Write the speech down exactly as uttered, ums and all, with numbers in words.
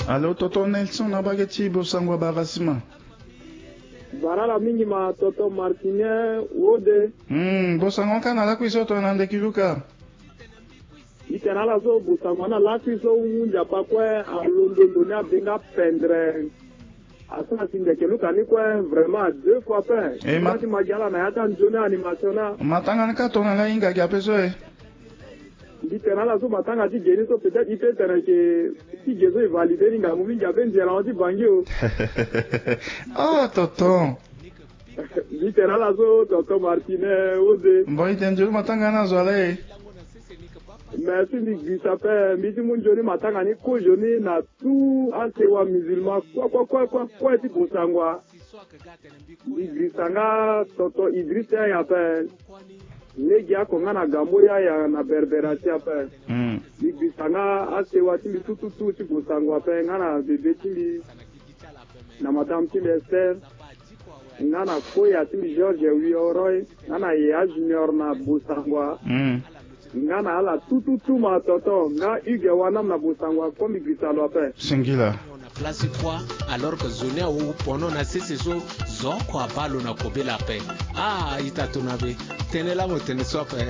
Alo, toto Nelson na bage ti Bosangwa Barasima. Barala mingi ma toto Martine Wode. Hmm, Bosangwa ka na lakui so to na ndeki luka. Itene ala so Bosangwa na lakui so wu ndia pa kue alondo ndo ni abenga pendre. Asara si ndeke luka ni kue vraiment deux fois pe. E ma- Ti ma gi ala na ya ti anzoni animation na. Matanga ni ka tongana nga hinga gi ape so e. Mbi tene ala so matanga ti ge ni so peut-être i peut tene ke ti ge so e valide ni ngangu mingi ape nzela ti bangi o. Ah, tonton. Mbi tene ala so tonton Martine Wode. Mbo i tene nzoni matanga ni azo ala e. Merci, mbi girisa ape. Mbi ti mu nzoni matanga ni kozo ni na tout asewa musulman kue kue kue kue kue ti Bosangwa. Mbi girisa nga tonton Idriss Yaya ape. Lege oko nga na Gambo Yaya na Berbera ti ape. Hmm. Mbi girisa nga asewa ti mbi tututu ti Bosangwa ape nga na bebe ti mbi na madame ti mbi Esther. Nga na koya ti mbi George Wioroi nga na Yaya Junior na Bosangwa. Hmm. Nga na ala tututu ma tonton nga Hugues Wanam na Bosangwa kue mbi girisa lo ape. Singila. Na place kua alors que zo ni awu pono na sese so zo oko abaa lo na kobela ape. Ah, ita tona be. Tene laa mo tene so ape.